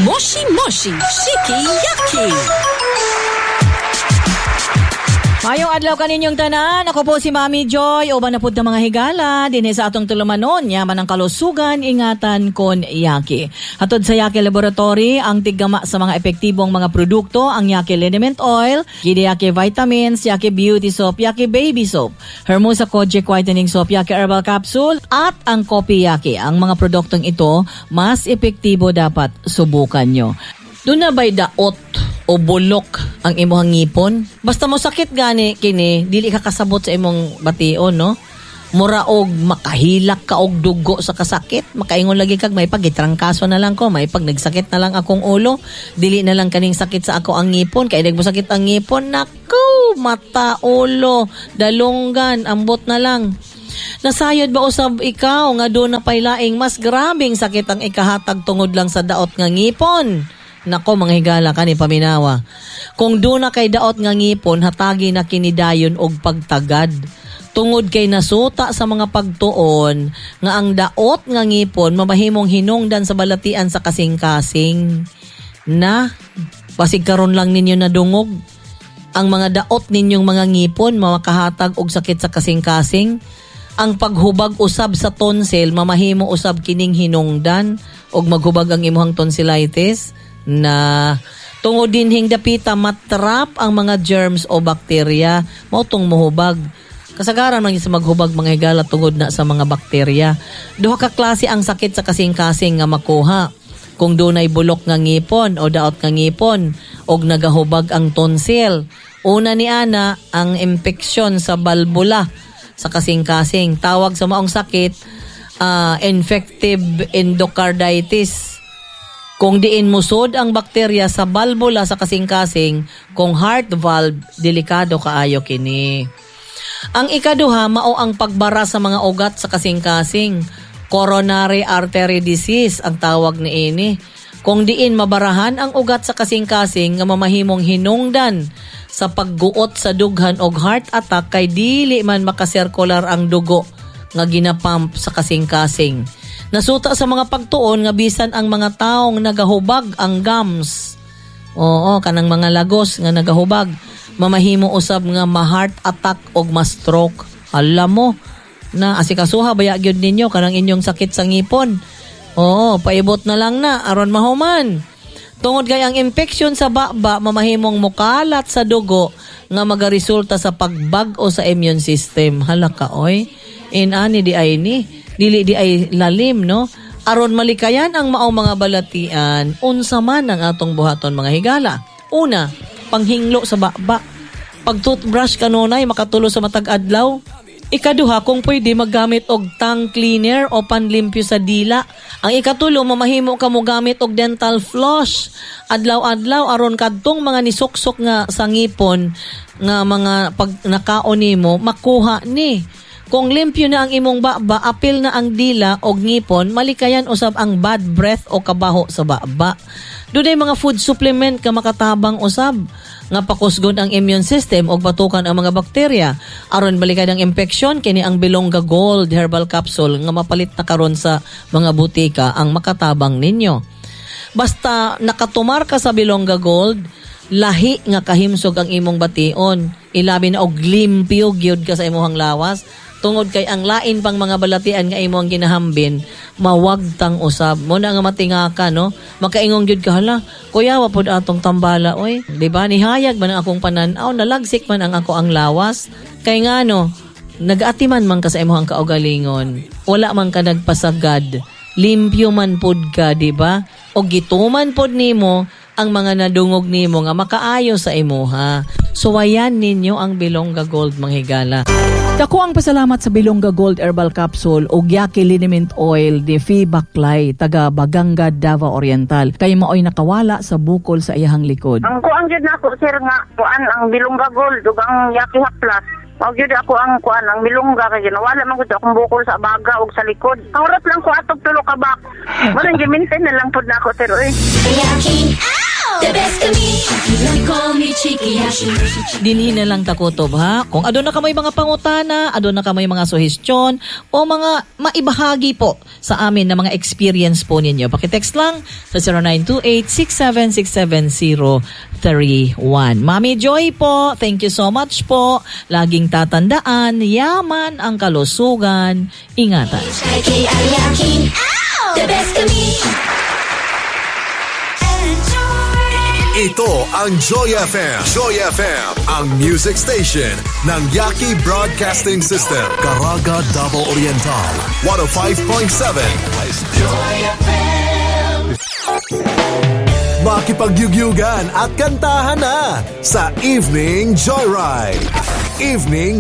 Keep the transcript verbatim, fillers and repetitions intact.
Moshi Moshi Shiki Yaki. Mayong adlaw kaninyong tanan. Ako po si Mami Joy. Uban na pud ta, mga higala dinhi sa atong tulumanon. Yaman ang kalusugan, ingatan kon Yaki. Hatod sa Yaki Laboratory, ang tiggama sa mga epektibong mga produkto, ang Yaki Liniment Oil, Gidi Yaki Vitamins, Yaki Beauty Soap, Yaki Baby Soap, Hermosa Kojic Whitening Soap, Yaki Herbal Capsule, at ang Kopi Yaki. Ang mga produktong ito, mas epektibo, dapat subukan nyo. Duna ba'y daot o bulok ang imong ngipon? Basta mo sakit gani kini, dili ka kasabot sa imong bation, no? Mura og makahilak ka og dugo sa kasakit, makaingon lagi kag may pag gitrangkaso na lang ko, may pag nagsakit na lang akong ulo, dili na lang kaning sakit sa ako ang ngipon, kay mo sakit ang ngipon, nako, mata, ulo, dalunggan, ambot na lang. Nasayod ba usab ikaw nga duna pay laing mas grabing sakit ang ikahatag tungod lang sa daot nga ngipon? Nako, mga higala, kani paminawa. Kung duna kay daot nga ngipon, hatagi na kini dayon og pagtagad. Tungod kay nasuta sa mga pagtuon nga ang daot nga ngipon mamahimong hinungdan sa balatian sa kasing-kasing. Na basig karon lang ninyo nadungog ang mga daot ninyong mga ngipon makahatag og sakit sa kasing-kasing. Ang paghubag usab sa tonsil, mamahimo usab kining hinungdan og maghubag ang imong tonsillitis na tungod dinhing dapita matrap ang mga germs o bakterya, mao tong muhubag. Kasagaran man sa maghubag, mga higala, tungod na sa mga bakterya. Duha ka klase ang sakit sa kasing-kasing nga makuha kung dunay bulok nga ngipon o daot nga ngipon og nagahubag ang tonsil. Una ni ana, ang impeksyon sa balbula sa kasing-kasing. Tawag sa maong sakit, uh, infective endocarditis. Kung diin musod ang bakterya sa balbula sa kasing-kasing, kung heart valve, delikado kaayo kini. Ang ikaduha, mao ang pagbara sa mga ugat sa kasing-kasing. Coronary artery disease ang tawag ni ini. Kung diin mabarahan ang ugat sa kasing-kasing nga mamahimong hinungdan sa pagguot sa dughan og heart attack kay dili man makasirkular ang dugo nga ginapump sa kasing-kasing. Nasuta sa mga pagtuon nga bisan ang mga taong nagahubag ang gums. Oo, kanang mga lagos nga nagahubag, mamahimo usab nga ma-heart attack og ma-stroke. Alam mo na asikasuha baya gyud ninyo kanang inyong sakit sa ngipon. Oo, paibot na lang na aron mahuman. Tungod kay ang infection sa baba mamahimong mukalat sa dugo nga magaresulta sa pagbag-o sa immune system. Hala ka oy. Inani di ay ni, dili di ay lalim, no? Aron malikayan ang maong mga balatian, unsa man ang atong buhaton, mga higala? Una, panghinglo sa baba. Pag toothbrush kanunay makatulo sa matag adlaw. Ikaduha, kung pwede, maggamit og tongue cleaner o panlimpyo sa dila. Ang ikatulo, mamahimo ka mo gamit og dental floss adlaw-adlaw aron kadtong mga nisuksok nga sa ngipon nga mga pag nakaon nimo makuha ni. Kung limpyo na ang imong baba, apil na ang dila og ngipon, malikayan usab ang bad breath o kabaho sa baba. Dunay mga food supplement ka makatabang usab nga pakusgon ang immune system og batukan ang mga bakterya. Aron balikan ang infection, kini ang Bilongga Gold Herbal Capsule nga mapalit na karon sa mga butika ang makatabang ninyo. Basta nakatumar ka sa Bilongga Gold, lahi nga kahimsog ang imong bation. Ilabi na og limpyo gyud ka sa imong lawas tungod kay ang lain pang mga balatian nga imong ginahambin mawagtang usab mo na nga matinga ka, no? Makaingon gyud ka, "Hala, kuya, wa pod atong tambala oy, di ba? Nihayag man ang akong panan-aw, nalagsik man ang ako ang lawas." Kay ngano, nag-atiman man ka sa imong kaugalingon, wala man ka nagpasagad, limpyo man pod ka, di ba? O gituman pod nimo ang mga nadungog nimo nga makaayo sa imuha. Suwayan ninyo ang Bilongga Gold, mga higala. Dako ang pasalamat sa Bilongga Gold Herbal Capsule o Yaki Liniment Oil ni Fee Baklay, taga Baganga, Davao Oriental. Kay maoy nakawala sa bukol sa iyahang likod. Ang kuan gyud nako, sir, nga kuan ang Bilongga Gold ug ang Yaki Plus. Mao gyud ako ang kuan ang Bilongga kay ginawala man gud akong bukol sa baga ug sa likod. Ang lang ko atog tulo ka bak. Mo nang gi-maintain na lang pud nako, sir, oy. Yaki! Ow! The best kami. Call me Chikiyashi. Dinhi na lang ta kutob ha. Kung aduna kamoy mga pangutana, aduna kamoy mga suhestyon o mga maibahagi po sa amin na mga experience po ninyo. Paki-text lang sa zero nine two eight, six seven six seven zero three one. Mami Joy po, thank you so much po. Laging tatandaan, yaman ang kalusugan. Ingatan. H I K I Yaki. The best kami. Ito ang Joy F M. Joy F M, ang music station ng Yaki Broadcasting System. Caraga, Davao Oriental, one oh five point seven. Joy F M. Makipagyugyugan at kantahan na sa Evening Joyride. Evening